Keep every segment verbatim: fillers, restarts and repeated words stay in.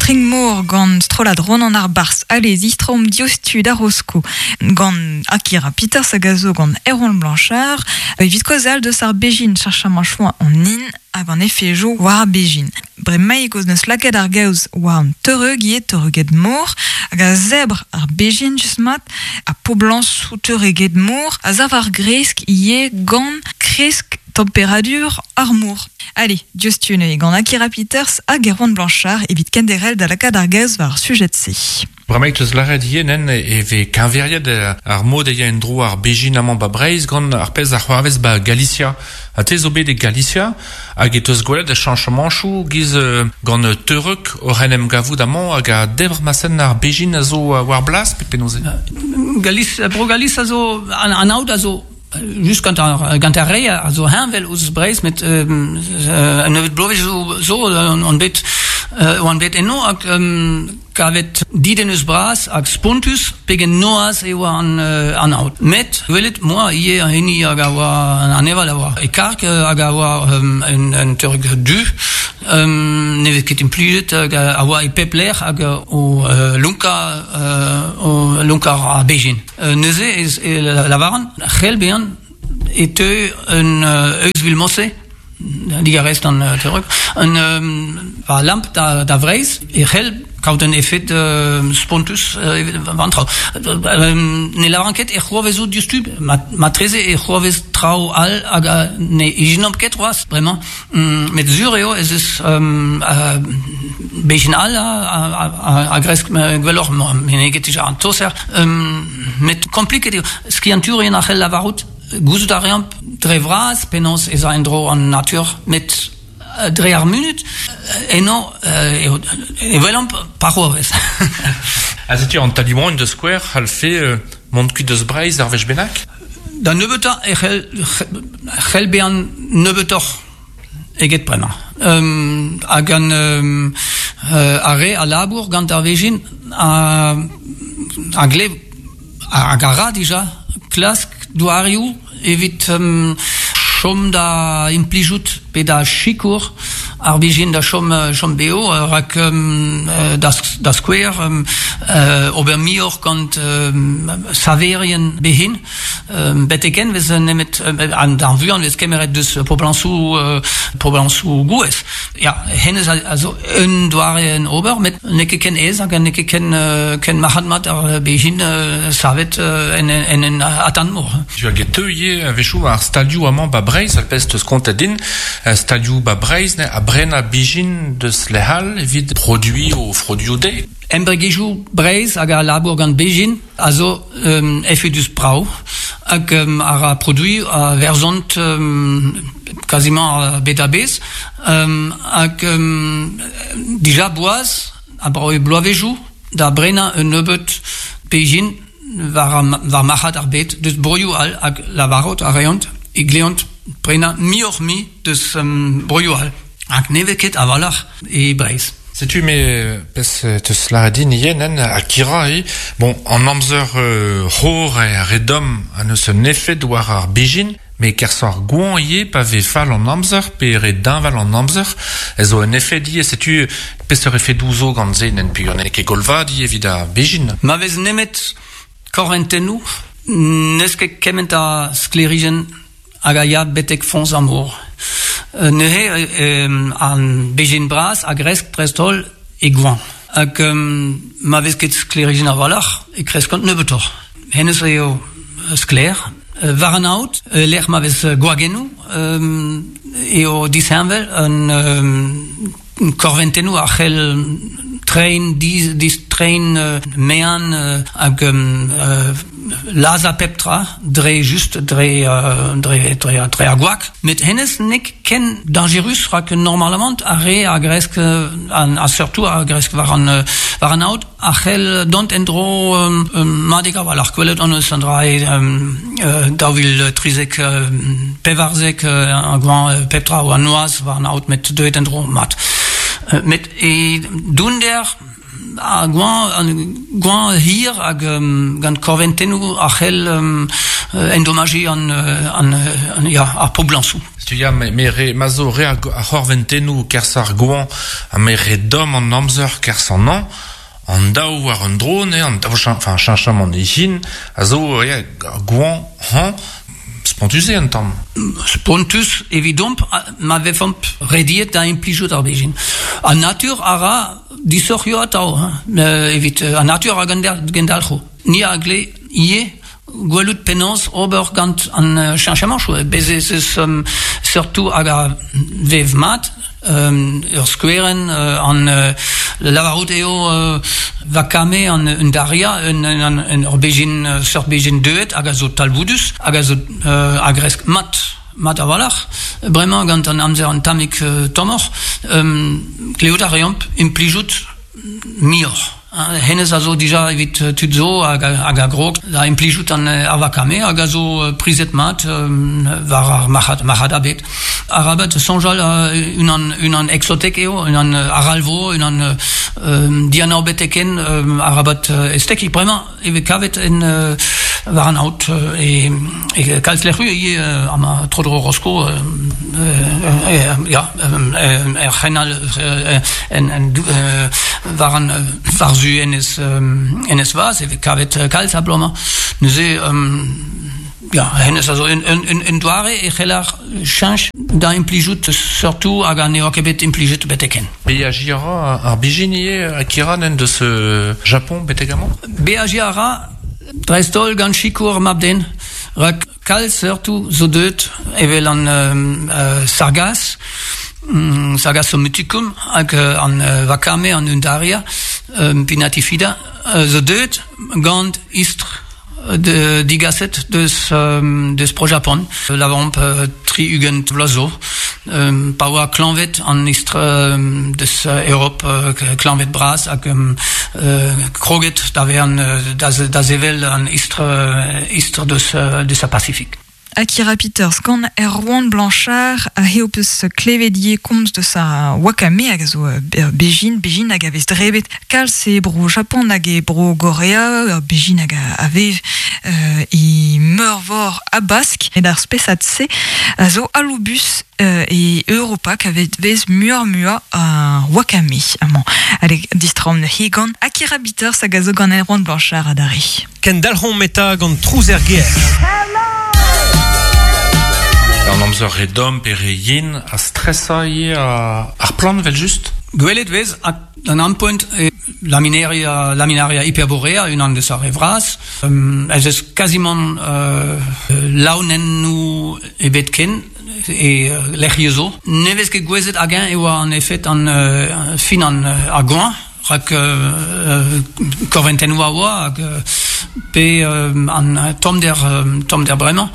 Stringmor gant strollad Ronan ar Bars ale zistrom diostu da Rosko gant Akira Peters hag a zo gant Erwan Blanchard evit kozal deus ar bejin charchamant choa an in hag an efejo war ar bejin. Bremaik oz neus lakaet ar gaoz war an teureug ivez teureuged mor hag a zebr ar bejin just mat a poblañsoù teureuged mor a zav ar gresk ivez gant kresk temperadur ar mor. Allez, diouzhtu neuze gant Akira Peters hag Erwan Blanchard evit kenderc'hel da lakaat ar gaoz war ar sujet-se. Bremaik teus lâret ivez nen e vez keñveriet ar mod e ya en-dro ar bejin amañ ba Breizh gant ar pezh a c'hoarvez ba Galicia. Ha te zo bet e Galicia hag e teus gwelet a chañchamanchoù giz gant teureug oc'h en em gavout amañ hag a debr masen ar bejin a zo war blas pe penaos eo? Galice, bro Galice a zo an, an aod a zo just gant ar, gant ar re a zo heñvel ouzh Breizh met euh, un nebeud bloavezh zo, zo on bet euh, oan bet eno hag um, kavet didennus bras hag spontus pegen noazh e oa an, euh, an aod. Met gwelet moa ivez an hini hag a oa an aneval a oa e karg hag a oa um, un, un teureug du um, ne vez ket implijet hag a oa e pep lec'h hag o uh, lonkañ uh, o lonkañ ar bejin. Uh, neuze ez, e lavaran c'hell bezañ e teu un uh, euzhvil morse digarez d'an uh, teureug un um, war lamp da, da Vreizh e c'hell kaout un efed uh, spontus uh, war an traoù. Um, ne lavaran ket e c'hoarvezo diouzhtu, ma, matreze e c'hoarvez traoù all hag uh, ne ijinomp ket c'hoazh bremañ. Mm, met sur eo ez eus um, uh, bejin all a, a, a, a gresk gwelloc'h meneget dija an toser. Um, met kompliket eo skiantourien a c'hell lavarout gouzout a reomp dre vras penaos ez a en-dro an natur met dre ar munud eno eo e welomp pa c'hoarvez. Ha setu an Talimon de Square c'hallfe euh, mont kuit deus Breizh ar wech bennak? Da nebeutañ e c'hell c'hell bezañ nebeutoc'h eget bremañ. Um, hag an um, uh, ar re a labour gant ar vejin a, a glev hag a ra dija klask doareoù evit um, chom da implijout pe da sikour ar bejin da chom, chom beo rak um, da, da skouer um, uh, ober muioc'h gant um, saverien behin um, beteken vez nemet an d'ar vuan vez kemeret deus poblañsoù uh, poblañsoù gouez. Ya, hennezh a, a zo un doare en ober, met n'eo ket ken aes hag n'eo ket ken, uh, ken marc'had-mat ar bejin uh, savet uh, en, en, en atant mor. Tu hag e teu ivez a-wechoù ar stalioù amañ ba Breizh, ar pezh teus kontet din, stalioù ba Breizh ne, a brena bijin deus lec'hall evit produiñ o froduioù dezhe. Embregerezhioù Breizh hag a labour gant bejin a zo um, efedus brav hag um, a ra produiñ a verzont um, quasiment bet a-bezh um, hag um, dija boaz abaoe bloavezhioù da brenañ un nebeud bejin war, war marc'had ar bed deus broioù all hag lavarout a reont e gleont prenañ muioc'h mui deus um, broioù all hag ne vez ket a-walc'h e Breizh. Setu me pezh teus lâret din ivez nen Akira e bon an amzer euh, c'hor e re domm a neus un efed war ar bejin met kerzh ar goañv ivez pa vez fall an amzer pe re deñval an amzer ez zo un efed ivez setu peseurt efedoù zo gant se nen peogwir n'eo ket golvad ivez evit ar bejin. Ma vez nemet korventennoù n'eus ket kement a sklêrijenn hag a ya betek foñs ar mor. Neuze euh, an bejin bras a gresk dreist-holl e goañv. Hag um, ma vez ket sklêrijenn a-walc'h e kreskont nebeutoc'h. Hennezh eo sklaer. War an aod, lec'h ma vez gwagennoù, um, eo disheñvel an um, korventennoù a c'hell treiñ, dis, distreiñ uh, mean uh, hag um, uh, lazhañ pep tra dre just dre, uh, dre, dre, dre ar gwag. Met hennezh n'eo ket ken dañjerus rak normalamant ar re a gresk an, a surtout a gresk war an, war an aod a c'hell dont en-dro um, um, madik a-walc'h gwelet hon eus an dra um, uh, daou vil trizek uh, pevarzek uh, ar goañv pep tra oa noazh war an aod met deuet en-dro mat. Met e dounder a gwan, an gwan hir hag um, gant korventennoù a c'hell um, endomaji an, an, an, ya, ar poblañsoù. Setu ya, me, me re, ma zo re ar c'horventennoù kerzh ar gwan ha me re domm an amzer kerzh an an, an daou war un dro, ne, an daou enfin, cheñchamant e hin, a zo ya, gwan han, spontus eo un tamm. Spontus evidomp ma vefomp rediet da implijout ar bezhin. An natur a ra disoc'hioù atav, hein, evit an natur a gendalc'ho. Ni a gle ivez gwelout penaos ober gant an cheñchamanchoù. Bez ez eus um, surtout hag a vev mat, um, ur skouerenn uh, an uh, lavarout eo uh, vakame an undaria, un, un, un, ur bezhin, seurt bezhin deuet hag a zo talvoudus, hag a zo uh, a gresk mat. Mat a-walc'h, bremañ gant an amzer an tammig uh, tommoc'h, um, klevout a reomp implijout muioc'h. Hennezh a zo dija evit tud zo hag, hag a grog da implijout an ar vakame hag a zo prizet mat um, war ar marc'had, marc'had abet. Arabat soñjal uh, unan, unan exotek eo, unan aralvo, unan um, dianav beteken um, arabat uh, estekik. Bremañ e vez kavet en uh, war an aod e, e kalz lec'hioù ivez uh, amañ tro-dro Rosko uh, uh, ya, er c'henal uh, en, en, uh, war an war zu enez, um, enez vaz e vez kavet kalz a blomañ. Neuze um, ya, hennezh a zo un, un, un, un doare e c'heller cheñch da implijout surtout hag an eo ket bet implijet beteken. Beajiñ a ra ar bezhin ivez Akira nen deus Japon betek amañ? Beajiñ a ra dreist-holl gant sikour mab-den, rak kalz surtout zo deuet evel an euh, sargas, um, Sargassum muticum hag uh, an uh, vakame an undaria um, pinnatifida uh, zo deuet gant istr de digaset deus um, deus pro Japon lavaromp uh, tri ugent vloaz zo um, pa oa klañved an istr um, deus uh, Europ uh, klañved bras hag um, uh, kroget da vezañ uh, da, da sevel an istr, uh, istr deus, uh, deus ar Pasifik. Akira Peters gant Erwan Blanchard a eo peus klevet ivez komz deus ar wakame hag a zo bezhin, bezhin hag a vez drebet kalz e bro Japon hag e bro Gorea, bezhin hag a vev euh, e meurvor Habask et ar spesad-se a zo aloubus euh, e Europa ka vez muioc'h muiañ a wakame amañ. Allez, distroomp neuze gant Akira Peters hag a zo gant Erwan Blanchard adarre. Kendalc'homp eta gant Trouz er gêr. An amzer re domm pe re yen a stresa ivez ar plant vel just? Gwelet vez an ampoent e laminaria, laminaria hyperborea, unan deus ar re vras. Um, ez eus kazimant uh, laonennoù ebet ken e uh, lec'hioù zo. Ne vez ket gouezet hag-eñ e oa an efed an uh, fin an uh, ar goañv, rak uh, korventennoù a oa hag uh, pe uh, an tommder, uh, tommder bremañ.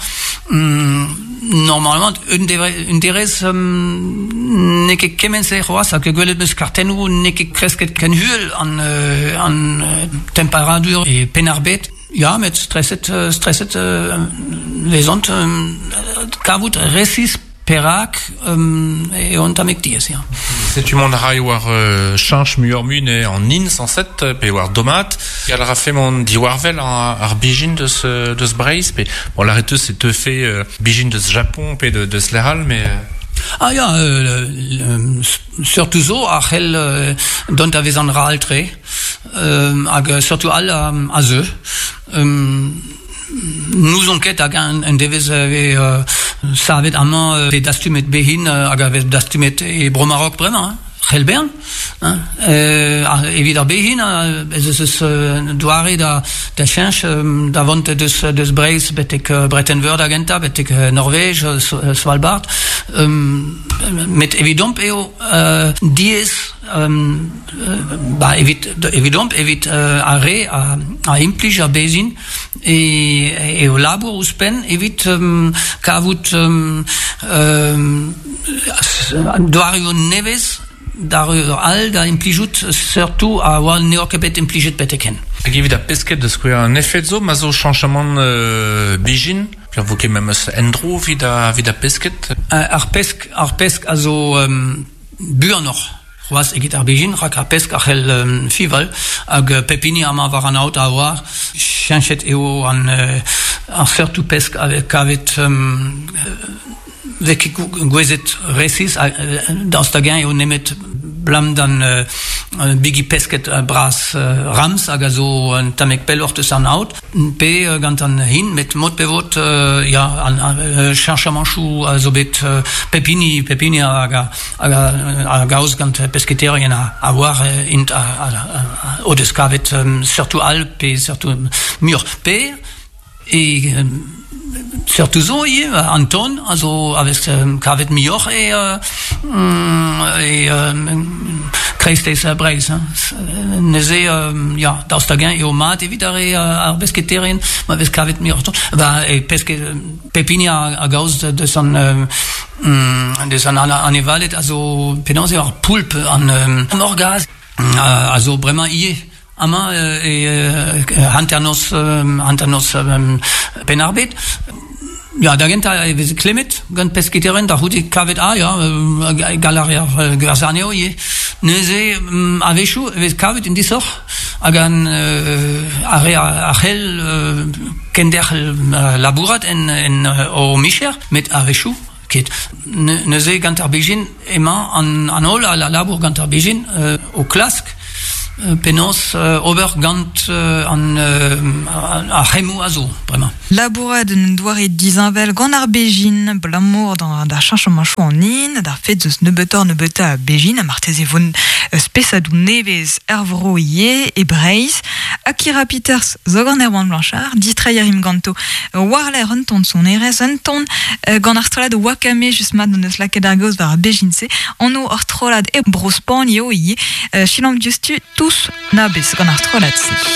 Mm, normalement un un derez um, n'eo ket kement-se c'hoazh hag gwelet 'm eus kartennoù n'eo ket kresket ken uhel an, uh, an uh, temperadur e Penn-ar-Bed. Ya, met streset, uh, streset uh, vezont um, kavout resis perak um, eo un tammig diaes, ya. Setu mont a ray war uh, cheñch muioc'h mui ne an hin sañset pe war dommaat. Gall a rafe mont diwarvel ar, ar bezhin deus, deus Breizh pe bon lâret eus e teufe uh, bezhin deus Japon pe de, deus lec'h all mais Ah ya, euh, euh, surtout zo a c'hell euh, dont a vez an ral-tre euh, hag surtout all a, a zeu. Um, N'ouzon ket hag un, un devezh e euh, savet amañ euh, dastumet bezhin hag a vez dastumet e Bro-Maroc bremañ, hein. C'hell bezañ, hein. Euh, evit ar bezhin, ez eus eus doare da, da cheñch da vont deus, deus Breizh betek Bretenn-Veur da gentañ, betek Norvej, Svalbard. Um, met evidomp eo uh, diaes um, ba, evit, evidomp evit uh, ar re a, a implij ar bezhin e, eo labour ouzhpenn evit um, kavout um, um, doareoù nevez d'ar all da implijout surtout a oa n'eo ket bet implijet betek-henn. Hag evit ar pesked da skouer un efed zo, ma zo cheñchamant euh, bezhin, pe vo ket memes endro evit a, evit ar pesked? Uh, ar pesk, ar pesk a zo um, buanoc'h. C'hoaz eget ar bejin, rak ar pesk a c'hell um, fival, hag uh, pepini amañ war an aod a oar, cheñchet eo an, uh, ar seurtoù pesk a kavet um, vez ket gouezet resis, daoust hag-eñ eo nemet blam d'an uh, bigi pesket uh, bras uh, rams hag a zo un tammig pelloc'h deus an aod, pe uh, gant an hin, met mod pe vod, uh, ya, an uh, cheñchamanchoù a zo bet uh, pepini, pepini hag a, hag a, a gaoz gant pesketerien a, a oar int a, a, a, o deus kavet um, seurtoù all pe seurtoù muioc'h. Pe e um, seurtoù zo ivez, an ton a zo a vez um, kavet muioc'h e, uh, e um, kreisteiz Breizh. Hein. Neuze, um, ya, daoust hag-eñ eo mat evit ar re ar besketerien, ma vez kavet muioc'h ton. Ba, e peske, pepini a, a gaoz deus an, um, deus an anevaled a zo penaos eo ar poulp an um, orgaz a, a zo bremañ ivez. Amañ e hanternoz hanternoz Penn-ar-Bed. Ya, da gentañ e veze klemmet gant pesketerien da c'houde kavet ah ya, gall a reer gwerzhañ anezho ivez. Neuze a-wechoù e vez kavet un disoc'h hag an ar re a c'hell kenderc'hel labourat en, en o micher, met a-wechoù ket. Neuze gant ar bezhin emañ an, an holl a labour gant ar bezhin o klask penaos ober gant an ar c'hemmoù a zo bremañ. Labourat un doare disheñvel gant ar bezhin, abalamour d'ar cheñchamanchoù an hin, d'ar fed eus nebeutoc'h nebeutañ a bezhin, ha marteze vo spesadoù nevez er vro ivez e Breizh. Akira Peters zo gant Erwan Blanchard, distreiñ a rimp ganto war-lerc'h un ton sonerezh, un ton gant ar strollad Wakame just mat n'eus lakaet ar gaoz war ar bezhin-se, anv ar strollad e Bro-Spagn eo ivez, selaomp diouzhtu tous nabez gant ar strollad-se.